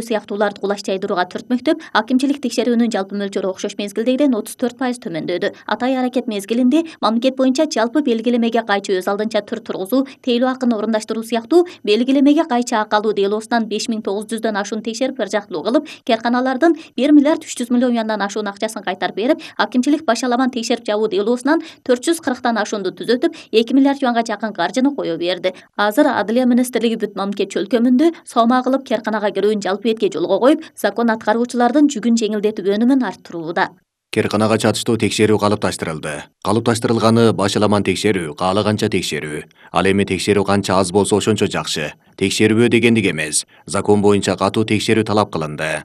сыяктууларды кулаш жайдырууга түртмөктөп, акимчилик текшерүүнүн жалпы мөлчөрү окшош мезгилдегиден 34% төмөндөдү. Атай аракет мезгилинде мамлекет боюнча жалпы белгилемеге кайчы өз алдынча түр тургузуу, тейлөө акын орундаштыруу сыяктуу белгилемеге кайчы акы алуу делоосунан 5900дөн ашуун текшерип ыржактылуу кылып, керканалардын 1 миллиард 300 миллион юандан ашуун акчасын кайтарып берип, акимчилик башаламан текшерип жабуу делоосунан 440тан ашуунду түзөтүп, 2 миллиард юанга жакын каржыны кое берди. Азыр Адылия министрлиги бүт мамлекет чөлкөмүндө сомма кылып керканага кирүүнү жалпы этке жолго коюп, закон аткаруучулардын жүгүн жеңилдетип өнүмүн арттырууда. Керканага чатыштуу текшерүү калыпташтырылды. Калыпташтырылганы башаламан текшерүү, каалаганча текшерүү. Ал эми текшерүү канча аз болсо ошончо жакшы. Текшерүү дегендик эмес. Закон боюнча катуу текшерүү талап кылынды.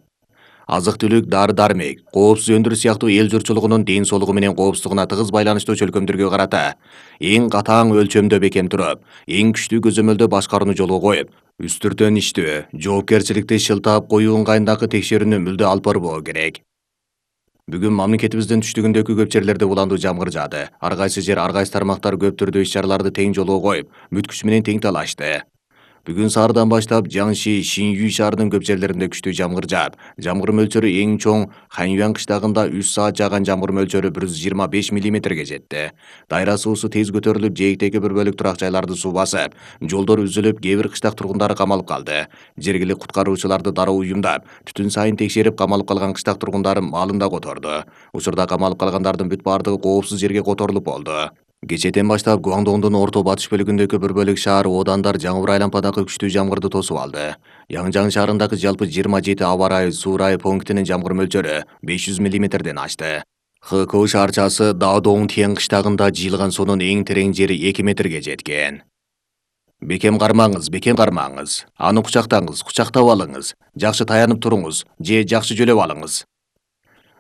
Азык-түлүк, дары-дармек, коопсуз өндүрүү сыяктуу эл журтчулугунун ден соолугу менен коопсуздугуна тыгыз байланыштуу чөлкөмдөргө карата эң катаң өлчөмдө бекем туруп, эң күчтүү көзөмөлдө башкарууну жолго коюп, үстүртөн иштөө, жоопкерчиликти шылтап коюу ыңгайындагы текшерүүнү мүлдө алып барбоо керек. Бүгүн мамлекетибиздин түштүгүндөгү көп жерлерде уландуу жамгыр жаады. Ар кайсы жер, ар кайсы тармактар көп түрдүү иш-чараларды тең жолго коюп, бүт күчү менен тең талашты. Бүгүн саардан баштап Жаңши, Шинюй шаарынын көп жерлеринде күчтүү жамгыр жаап, жамгыр мөлчөрү эң чоң Ханьюан кыштагында 3 саат жааган жамгыр мөлчөрү 125 мм жетти. Дайра суусу тез көтөрүлүп, жээктеги бір бөлүк турак жайларды суу басып, жолдор үзүлүп, кээ бир кыштак тургундары камалып калды. Жергиликтүү куткаруучуларды дароо уюмдап, түтүн сайын текшерип, камалып калган кыштак тургундарын маалын да которду. Учурда камалып калгандардын бүт баардыгы коопсуз жерге которулуп болду. Кечээден баштап Гуандоңдун орто батыш бөлүгүндөгү бір бөлүк шаар оодандар жаңбыр айлампадагы күчтүү жамгырды тосуп алды. Яңжаң шаарындагы жалпы 27 аба ырайы, суу ырайы пунктинин жамгыр мөлчөрү 500 мм ашты. ХКУ шаарчасы Даодоң Тиен кыштагында жыйылган суунун эң терең жери 2 метрге жеткен. Бекем кармаңыз. Аны кучактаңыз, кучактап алыңыз. Жакшы таянып туруңуз, же жакшы жөлөп алыңыз.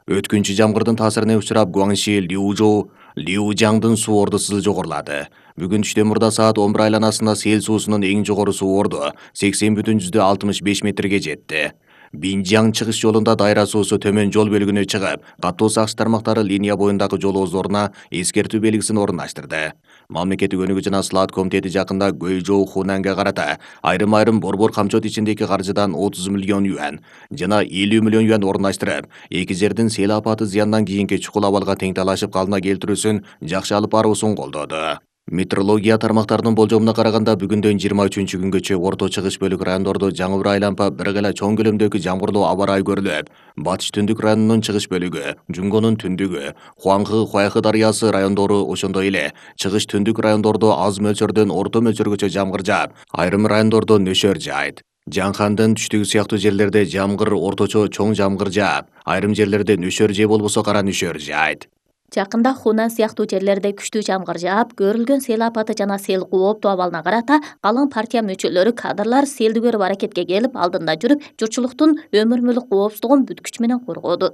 Өткүнчү жамгырдын таасирине учурап Гуаңши, Лиужоу, Лиужаңдын суу ордусу жогорулады. Бүгүн түштөн мурда саат 11 айланасында сел суусунун эң жогору суу орду 80,65 метрге жетти. Бинжаң чыгыш жолунда дайра суусу төмөн жол бөлүгүнө чыгып, каттуу сакчы тармактары линия боюндагы жол ооздоруна эскертүү белгисин орундаштырды. Мамлекеттик өнүгүү жана Слаат комитети жакында Гөйжоу Хунанга карата айрым борбор камчот ичиндеги каржыдан 30 миллион юан жана 50 миллион юан орундаштырып, эки жердин сел апаты зыяндан кийинки чукул абалга тең талашып калыбына келтирүүсүн жакшы алып баруусун колдоду. Метеорология тармактарынын болжомуна караганда бүгүндөн 23-күнгөчө орто чыгыш бөлүк райондордо жаңбыр айлампа бир гана чоң көлөмдөгү жамгырлуу аба ырайы көрүлүп, батыш түндүк районунун чыгыш бөлүгү, Жунгонун түндүгү, Хуаңхы, Хуайхы дарыясы райондору, ошондой эле чыгыш түндүк райондордо аз мөлчөрдөн орто мөлчөргөчө жамгыр жаап, айрым райондордо нөшөр жаайт. Жаңхандын түштүгү сыяктуу жерлерде жамгыр орточо чоң жамгыр жаап, айрым жерлерде нөшөр же болбосо кара нөшөр жаайт. Жакында Хунан сыяктуу жерлерде күчтүү жамгыр жаап, көрүлгөн сел апаты жана сел кооптуу абалына карата калың партия мүчөлөрү, кадрлар селди көрүп аракетке келип, алдында жүрүп, журтчулуктун өмүр мүлк коопсуздугун бүт күчү менен коргоду.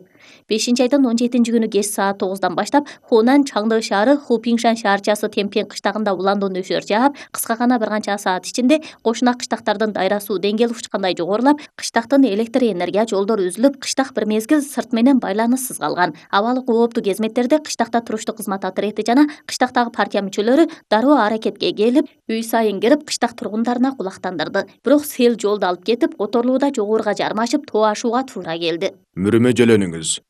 5-айдын 17-күнү кеч саат 9-дан баштап Хунан Чаңды шаары Хупиңшан шаарчасы Темпен кыштагында уландуу нөшөр жаап, кыска гана бир канча саат ичинде кошуна кыштактардын дайра суу деңгээли учкандай жогорулап, кыштактын электр энергия жолдору үзүлүп, кыштак бир мезгил сырт менен байланыссыз калган. Абалы кооптуу кезметтерде кыштакта туруштуу кызмат отряды жана кыштактагы партия мүчөлөрү дароо аракетке келип, үй сайын кирип, кыштак тургундарына кулактандырды. Бирок сел жолду алып кетип, которулууда жогоруга жармашып, тоо ашууга туура келди. Мүрүмө жөлөнүңүз.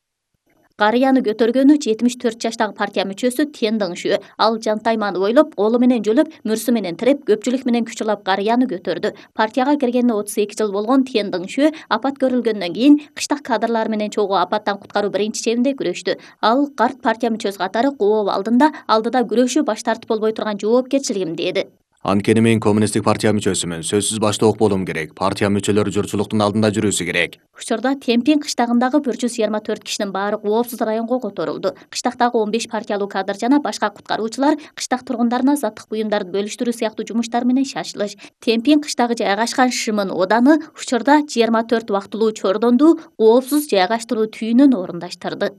Карыяны көтөргөнү 74 жаштагы партия мүчөсү Тен Дыңшү. Ал жантайманы бойлоп, колу менен жөлөп, мүрсү менен тиреп, көпчүлүк менен күч алып карыяны көтөрдү. Партияга киргенине 32 жыл болгон Тен Дыңшү апат көрүлгөндөн кийин кыштак кадрлар менен чогуу апаттан куткаруу биринчи чебинде күрөштү. Ал карт партия мүчөсү катары коо алдыда күрөшүү баш тартып болбой турган жоопкерчилигим деди. Анткени мен коммунисттик партия мүчөсүмүн. Сөзсүз баштоок болуум керек. Партия мүчөлөрү журтчулуктун алдында жүрүүсү керек. Учурда Темпин кыштагындагы 124 кишинин баары коопсуз районго которулду. Кыштактагы 15 партиялуу кадр жана башка куткаруучулар кыштак тургундарына заттык буюмдарды бөлүштүрүү сыяктуу жумуштар менен шашылыш. Темпин кыштагы жайгашкан Шымын ооданы учурда 24 убактылуу чордонду коопсуз жайгаштыруу түйүнүн орундаштырды.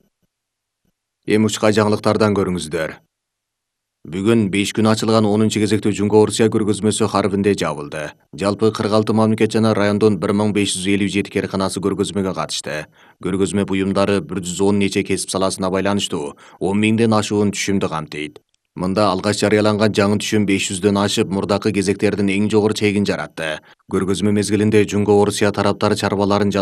Эми учка жаңылыктардан көрүңүздөр. Бүгүн 5 күн ачылган 10-кезектүү Жунго Орусия көргөзмөсү Харбинде жабылды. Жалпы 46 мамлекет жана райондон 1557 керканасы көргөзмөгө катышты. Көргөзмө буюмдары 110 нече кесип саласына байланыштуу 10 миңден ашуун түшүмдү камтыйт. Мында алгач жарыяланган жаңы түшүм 500дөн ашып, мурдакы кезектердин эң жогору чегин жаратты. Көргөзмө мезгилинде Жунго Орусия тараптары чарбаларын